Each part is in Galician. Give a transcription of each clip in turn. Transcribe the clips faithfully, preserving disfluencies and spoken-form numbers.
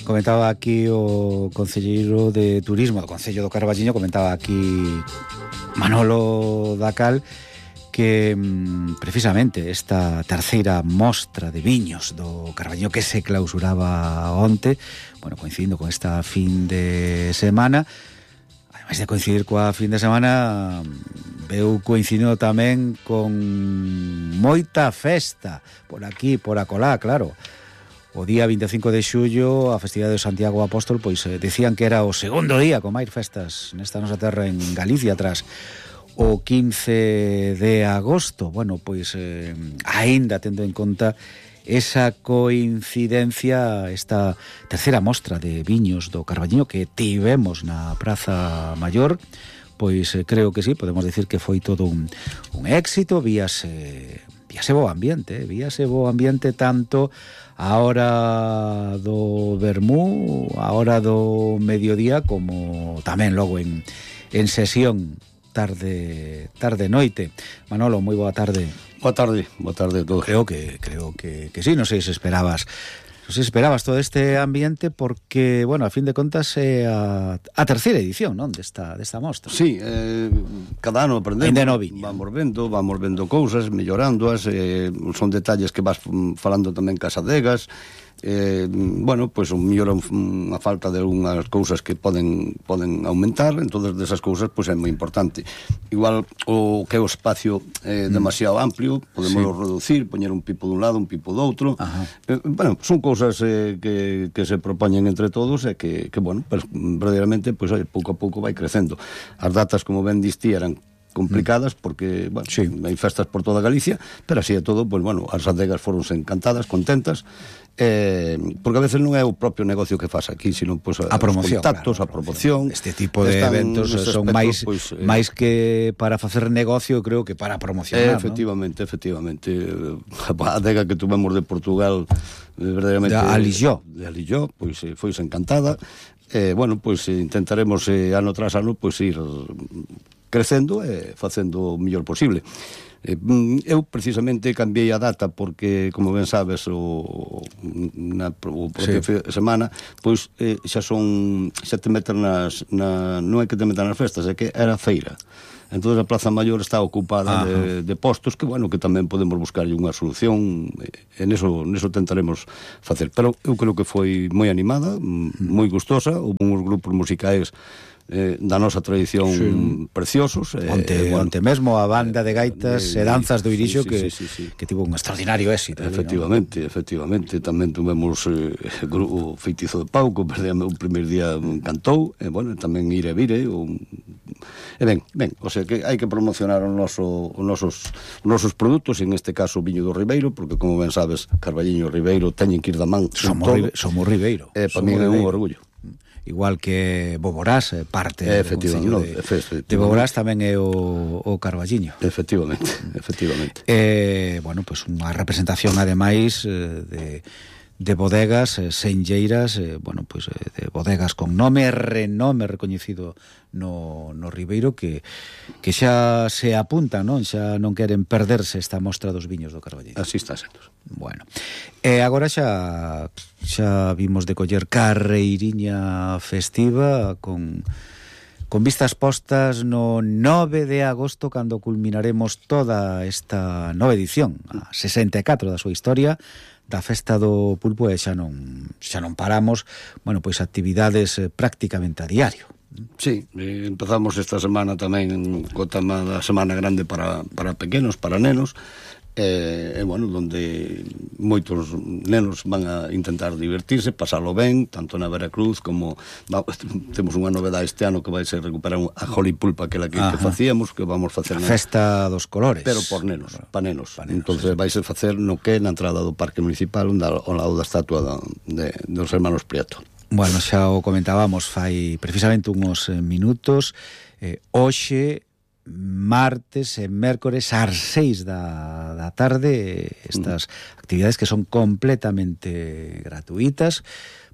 Comentaba aquí o concelleiro de Turismo do Concello do Carballiño, comentaba aquí Manolo Dacal, que precisamente esta terceira mostra de viños do Carballiño que se clausuraba onte, bueno, coincidindo con esta fin de semana, ademais de coincidir coa fin de semana, veu coincidindo tamén con moita festa por aquí, por acolá, claro. O día vinte e cinco de xullo, a festividade de Santiago Apóstol, pois eh, decían que era o segundo día con máis festas nesta nosa terra en Galicia, tras o quince de agosto. Bueno, pois eh, aínda tendo en conta esa coincidencia, esta terceira mostra de viños do Carballiño que tivemos na Praza Maior, pois eh, creo que sí, podemos decir que foi todo un, un éxito. Víase, víase bo ambiente, eh? víase bo ambiente tanto a hora do vermú, a hora do mediodía, como tamén logo en, en sesión tarde tarde noite. Manolo, moi boa tarde. Boa tarde, boa tarde a todos. Creo que creo que que sí, non sei se esperabas non sei se esperabas todo este ambiente, porque, bueno, a fin de contas é a, a terceira edición, non, desta desta mostra. Sí, eh, cada ano aprendemos. Ainda non viña. Vamos vendo, vamos vendo cousas, mellorándoas, eh, son detalles que vas falando tamén cas adegas. Eh, bueno, pois pues, mellora unha falta de unhas cousas que poden poden aumentar, entonces desas cousas pois pues, é moi importante. Igual o que é o espacio é eh, demasiado amplio, podemos sí. reducir, poñer un pipo dun lado, un pipo do outro. Eh, bueno, son cousas eh, que, que se propoñen entre todos e que, que bueno, pues, verdadeiramente, pois pues, pouco a pouco vai crecendo. As datas, como ben distí, eran complicadas porque, bueno, sí. hai festas por toda Galicia, pero así é todo, pois, pues, bueno, as adegas foronse encantadas, contentas, eh, porque a veces non é o propio negocio que faz aquí, sino pues, a promoción, os contactos, claro, a promoción. Este tipo de eventos son aspecto, máis pues, eh, máis que para facer negocio, creo que para promocionar, eh, efectivamente, ¿no? efectivamente. A adega que tuvemos de Portugal, eh, verdadeiramente de Alilló, de Alilló, pois pues, eh, foise encantada. Eh, bueno, pois pues, intentaremos eh, ano tras ano pois pues, ir crecendo e facendo o mellor posible. Eh, eu precisamente cambiei a data porque, como ben sabes, o na o propio sí. semana, pois eh, xa son xa te meten nas na, non é que te metan nas festas, é que era feira. Entón a Praza Maior está ocupada de, de postos que, bueno, que tamén podemos buscarlle unha solución, e neso, neso tentaremos facer. Pero eu creo que foi moi animada, moi gustosa, houve uns grupos musicais eh, da nosa tradición sí. preciosos. Onte, eh, bueno, onte mesmo a banda de gaitas e eh, danzas do Irixo sí, sí, que, sí, sí, sí. que tivo un extraordinario éxito. Efectivamente, ¿no? efectivamente. Tamén tuvemos eh, o Feitizo de Pau, que o primer día cantou, e, bueno, tamén Ire Vire, o... E ben, ben, o sea que hai que promocionar os, noso, os nosos, os nosos produtos, en este caso o viño do Ribeiro, porque como ben sabes, Carballiño e Ribeiro teñen que ir da man. Somos, ribe, somos Ribeiro. E para mí é un orgullo. Igual que Boborás, parte do Concello de, de Boborás, tamén é o, o Carballiño. Efectivamente, efectivamente. Eh, bueno, pues unha representación, ademais, eh, de... de bodegas eh, senlleiras, eh, bueno, pues eh, de bodegas con nome e renome recoñecido no, no Ribeiro, que, que xa se apuntan, non? Xa non queren perderse esta mostra dos viños do Carballiño. Así está sendo. Bueno, e agora xa xa vimos de coller carreiriña festiva con con vistas postas no nove de agosto, cando culminaremos toda esta nova edición, a sesenta e catro da súa historia, da Festa do Pulpo, e xa non xa non paramos, bueno, pois actividades eh, prácticamente a diario. Sí, eh, empezamos esta semana tamén co tema da Semana Grande para, para pequenos, para nenos, e, eh, bueno, donde moitos nenos van a intentar divertirse, pasalo ben, tanto na Veracruz como va, temos unha novedade este ano que vai ser recuperar a Jolly Pulpa, aquela que, que facíamos, que vamos facer a Festa dos Colores, pero por nenos, pa nenos, pa nenos. Entonces vai ser facer no que na entrada do Parque Municipal, ao lado da estatua da, de, dos hermanos Prieto. Bueno, xa o comentábamos fai precisamente uns minutos. eh, hoxe martes e mércores ás seis da, da tarde, estas mm. actividades que son completamente gratuitas.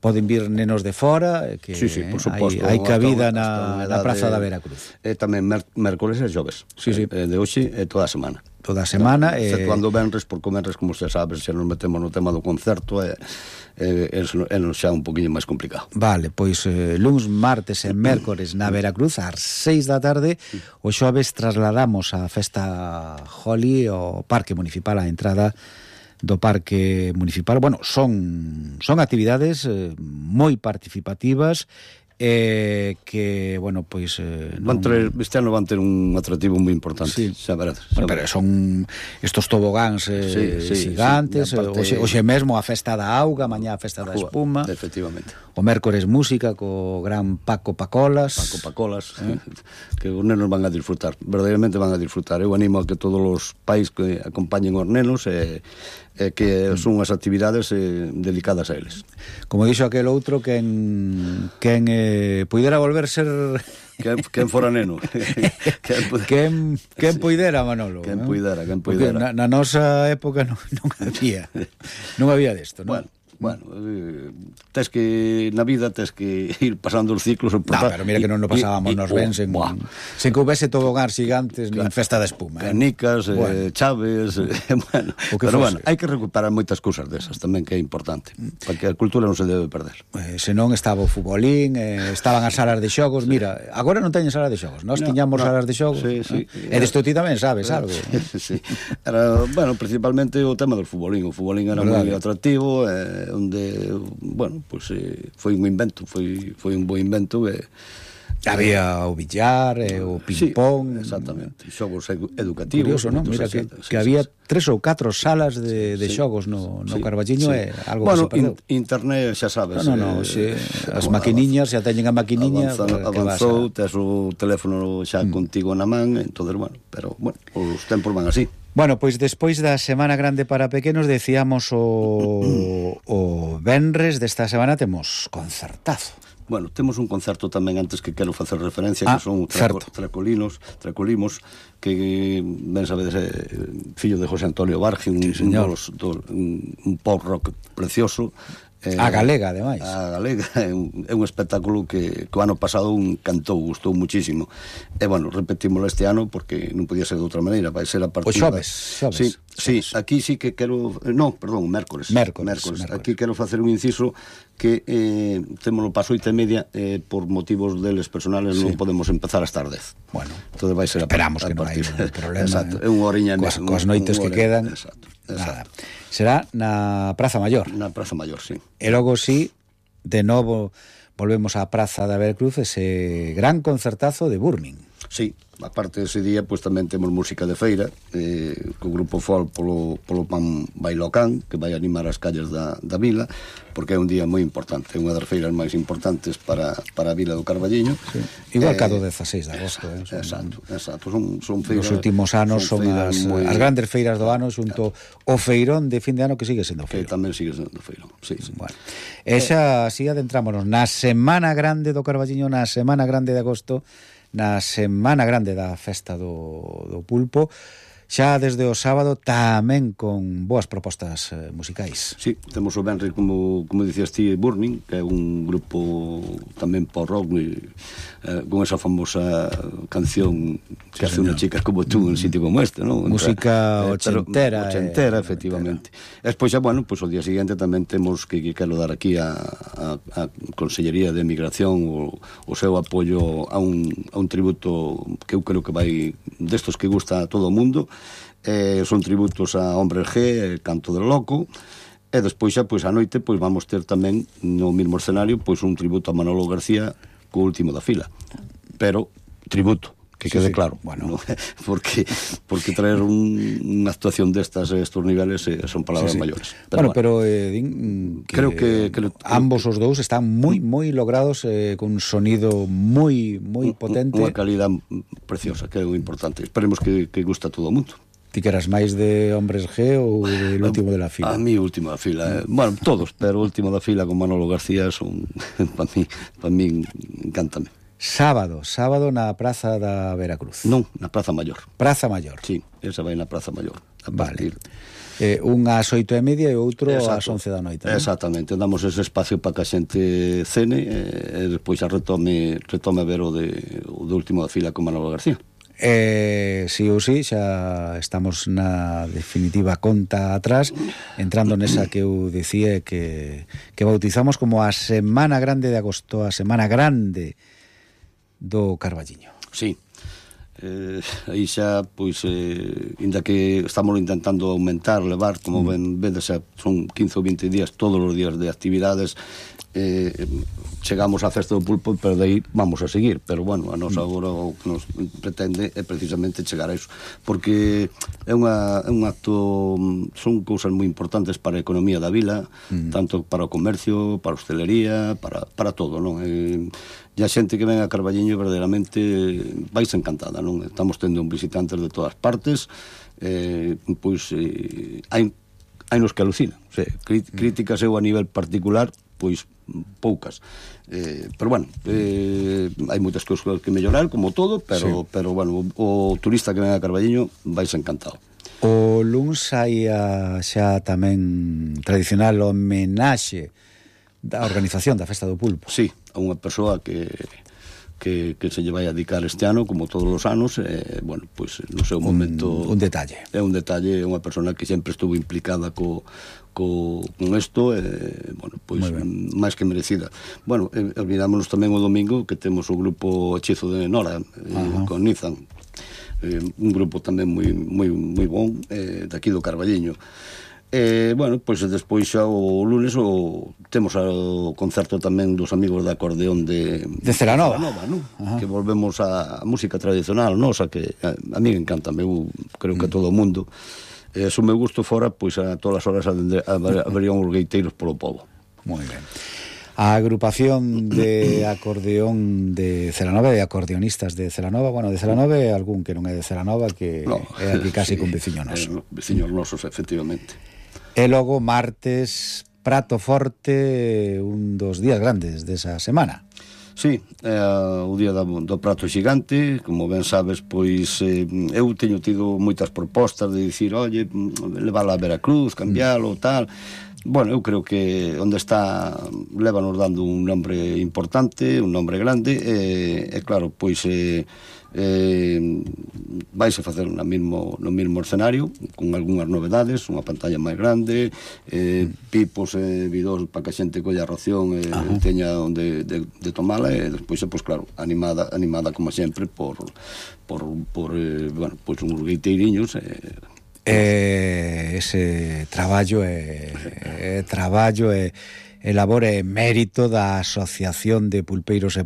Poden vir nenos de fora, que sí, sí, por suposto, hai, hai cabida na, na Praza de, da Veracruz. E tamén mércores e xoves, sí, sí. Eh, de hoxe e toda a semana. toda a semana. E... Cando venres, por comerres, como se sabe, se nos metemos no tema do concerto, é, é, é, é xa un poquinho máis complicado. Vale, pois eh, luns, martes e mércores na Veracruz, ás seis da tarde, o xoves trasladamos a festa Holi ao Parque Municipal, a entrada do Parque Municipal. Bueno, son son actividades eh, moi participativas, eh, que, bueno, pois... Eh, non... van ter, este ano van ter un atractivo moi importante. Sí. Xa verás. Bueno, pero son estos tobogáns eh, sí, sí, gigantes, sí, parte... hoxe, hoxe mesmo a festa da auga, mañá a festa da espuma. Efectivamente. O mércores música co gran Paco Pacolas. Paco Pacolas, eh? que os nenos van a disfrutar, verdadeiramente van a disfrutar. Eu animo a que todos os pais que acompañen os nenos e... Eh, que son unhas actividades eh, dedicadas a eles. Como dixo aquel outro, quen, quen eh, puidera volver ser... Quen, quen fora neno. quen, quen, quen sí. Puidera, Manolo. Quen ¿no? puidera, quen puidera. Na, na nosa época non, non había, non había desto, non? Bueno. Bueno, eh, tes que na vida tes que ir pasando os ciclos. No, pero mira que non nos pasábamos nos ben sen, sen que houvese tobogáns gigantes, claro, nin festa de espuma, eh? Canicas, bueno. eh, chaves, eh, bueno, pero fose. Bueno, hai que recuperar moitas cousas desas tamén, que é importante, para que a cultura non se debe perder. Eh, senón estaba o futbolín, eh, estaban as salas de xogos, sí. Mira, agora non teñen salas de xogos, nós no, tiñamos no. salas de xogos, sí, sí, eh? E desto ti tamén sabes algo. Sí, era, bueno, principalmente o tema do futbolín, o futbolín era moi atractivo, eh, onde, bueno, pois pues, eh, foi un invento, foi foi un bo invento e había o billar e o ping-pong. Sí, exactamente, xogos educativos. Curioso, non? Mira que, sí, que sí, había sí. tres ou catro salas de, de sí, xogos no, no sí, Carballiño, sí. E algo bueno, que se perdeu. In, internet, xa sabes. No, no, no, eh, xe, as maquiniñas, xa teñen a maquiniña. Avanza, avanzou, tes o teléfono xa mm. contigo na man, entonces, bueno, pero, bueno, os tempos van así. Bueno, pois despois da Semana Grande para pequenos, decíamos o, o venres desta semana temos concertazo. Bueno, temos un concerto tamén antes que quero facer referencia, ah, que son traco, tracolinos, tracolimos, que ben sabedes, eh, fillo de José Antonio Barge, un, sí, un, dos, dos, un, un pop rock precioso. Eh, a galega, ademais. A galega é un, é un espectáculo que, que o ano pasado un cantou, gustou muchísimo. E, bueno, repetímoslo este ano porque non podía ser de outra maneira, vai ser a partir... Pois xoves, xoves. Sí, sí, aquí sí que quero... No, perdón, mércores. Mércores, mércores. mércores. Aquí quero facer un inciso que eh, temos o paso oito e media, eh, por motivos deles personales sí. Non podemos empezar hasta as dez. Bueno, entonces vai ser a, esperamos a, a que non hai un problema. Exacto, é unha oriña... Coas, coas noites que quedan... Exacto. Exacto. Nada. Será na Praza Maior. Na Praza Maior, sí. E logo sí, de novo volvemos á Praza da Veracruz, ese gran concertazo de Burning. Sí, aparte dese día, pois pues, tamén temos música de feira, eh, co grupo Folk polo, polo Pan Bailocán, que vai animar as calles da, da vila, porque é un día moi importante, é unha das feiras máis importantes para, para a vila do Carballiño. Sí. Igual eh, que a do dezaseis de agosto. Eh, son, exacto, exacto. Son, son feiras... Nos últimos anos son, son as, moi... as grandes feiras do ano, xunto o feirón de fin de ano, que sigue sendo feirón. Que tamén sigue sendo feirón, sí, sí. Bueno, esa, así adentrámonos na Semana Grande do Carballiño, na Semana Grande de agosto, na Semana Grande da Festa do, do Pulpo, xa desde o sábado tamén con boas propostas eh, musicais. Sí, temos o venres, como, como dicías ti, Burning, que é un grupo tamén por rock, eh, con esa famosa canción que sí, hace unha chica como tú en un sitio como este, ¿no? Música eh, ochentera. Ochentera, eh, efectivamente. E despois xa, bueno, pues, o día seguinte tamén temos que, que quero dar aquí a, a, a Consellería de Migración o, o seu apoio a un, a un tributo que eu creo que vai destos que gusta a todo o mundo. Eh, son tributos a Hombres G, Canto del Loco, e despois xa, pois, a noite, pois, vamos ter tamén no mesmo escenario, pois, un tributo a Manolo García co último da fila, pero tributo, que quede sí, sí, claro, bueno, ¿no? porque porque traer un, unha actuación destas a estos niveles eh, son palabras sí, sí. maiores. Pero bueno, bueno, pero eh, din que creo que, que ambos os dous están moi moi logrados, eh, con un sonido moi moi potente, unha calidad preciosa, que é o importante. Esperemos que, que guste a todo o mundo. Ti que eras máis de Hombres G ou del último de la fila? A mí, último da fila. Eh. Bueno, todos, pero o último da fila con Manolo García son, para mí, para mí, encántame. Sábado, sábado na Praza da Veracruz. Non, na Praza Maior. Praza Maior. Sí, esa vai na Praza Maior. A partir... Vale. Eh, un ás oito e media e outro ás once da noite, non? Exactamente, damos ese espacio para que a xente cene e, e despois a retome, retome a ver o de, o de último da fila con Manolo García. Eh, sí ou sí, xa estamos na definitiva conta atrás, entrando nesa que eu dicía que, que bautizamos como a Semana Grande de Agosto, a Semana Grande do Carballiño. Sí. Eh, aí xa, pois, eh, inda que estamos intentando aumentar, levar, como ben vedes, son quince ou vinte días, todos os días de actividades, eh, chegamos á Festa do Pulpo, pero de aí vamos a seguir, pero bueno, a nosa agora o que nos pretende é precisamente chegar a iso, porque é, unha, é un acto, son cousas moi importantes para a economía da vila, mm. tanto para o comercio, para a hostelería, para, para todo, non? Eh, e a xente que ven a Carballiño verdadeiramente vais encantada, non? Estamos tendo un visitantes de todas partes, eh, pois eh, hai, hai nos que alucinan, o sea, críticas eu a nivel particular, pois poucas, eh, pero bueno, eh, hai moitas cousas que mellorar, como todo, pero, sí. pero bueno, o, o turista que ven a Carballiño vais encantado. O luns hai a, xa tamén tradicional homenaxe da organización da Festa do Pulpo. Sí, a unha persoa que que, que se lle vai a dedicar este ano, como todos os anos, eh, bueno, pois pues, no seu momento... Un, un detalle. É un detalle, é unha persona que sempre estuvo implicada co, co, con isto, eh, bueno, pois pues, máis que merecida. Bueno, eh, olvidámonos tamén o domingo que temos o grupo Hechizo de Nora, eh, con Nizan, eh, un grupo tamén moi, moi, moi bon, eh, daqui do Carballiño. Eh, bueno, pois pues, despois xa o lunes o, temos o concerto tamén dos amigos de acordeón de, de Celanova, Celanova, ¿no? Que volvemos á música tradicional nosa, que a, a mí encanta, eu creo que a todo o mundo. Eh, se o meu gusto fora, pois a todas as horas haberían os gueiteiros polo pobo. Moi ben. A agrupación de acordeón de Celanova, de acordeonistas de Celanova, bueno, de Celanova é algún que non é de Celanova, que no, é aquí casi sí, con veciño noso. Eh, veciños nosos, efectivamente. E logo, martes, prato forte, un dos días grandes desa semana. Sí, é o día do, do prato xigante, como ben sabes, pois eh, eu teño tido moitas propostas de dicir, oye, leválo a Veracruz, cambiálo, mm. tal. Bueno, eu creo que onde está lévanos dando un nombre importante, un nombre grande, e, e claro, pois eh, eh, vais a facer no mismo, no mismo escenario, con algunhas novedades, unha pantalla máis grande, eh, pipos e eh, vidós para que a xente colla a ración e eh, teña onde de, de tomala, e despois, pois claro, animada, animada como sempre por, por, por eh, bueno, pois uns gueiteiriños, eh, Eh, ese traballo é eh, traballo e eh, labor e mérito da Asociación de Pulpeiros e Pulpeiros